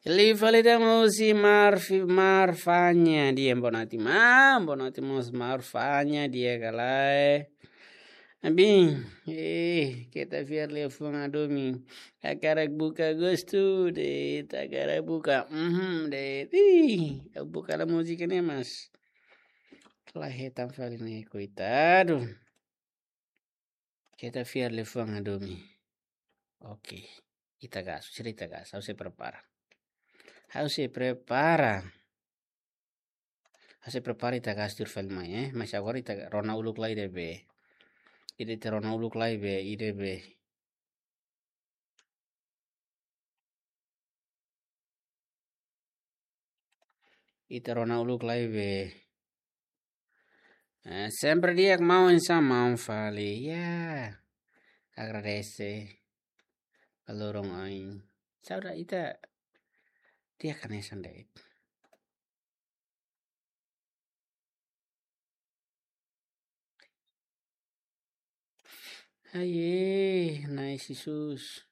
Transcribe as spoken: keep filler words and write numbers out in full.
Liu fali ita mós iha Marfi-, Marfanya di'ak, boa noite, maun. Boa noite mós Marfanya di'ak ka lae. Abin, eh, keta fiar liafuan hadomi. Hakarak buka gostu de'it, hakarak buka, mhm, de'it. Ih, ha'u buka ona múzika ne'e, mas la hetan fali ne'e, koitadu. Keta fiar liafuan hadomi. Oke. Ita gas, sira ita gas. Ha'u sei prepara. Ha'u sei prepara. Ha'u sei prepara, ita gas tuir fali mai, eh. Mas agora ita rona uluk lai ida be. Ida ita rona uluk lai be, ida be. Ita rona uluk lai be. Eh, sempre di'ak maun, oinsá maun fali. Ya. Agradese. Ka loron oin. Saudade ita di'ak hanesan de'it. Ai, eh, Na'i Jesus.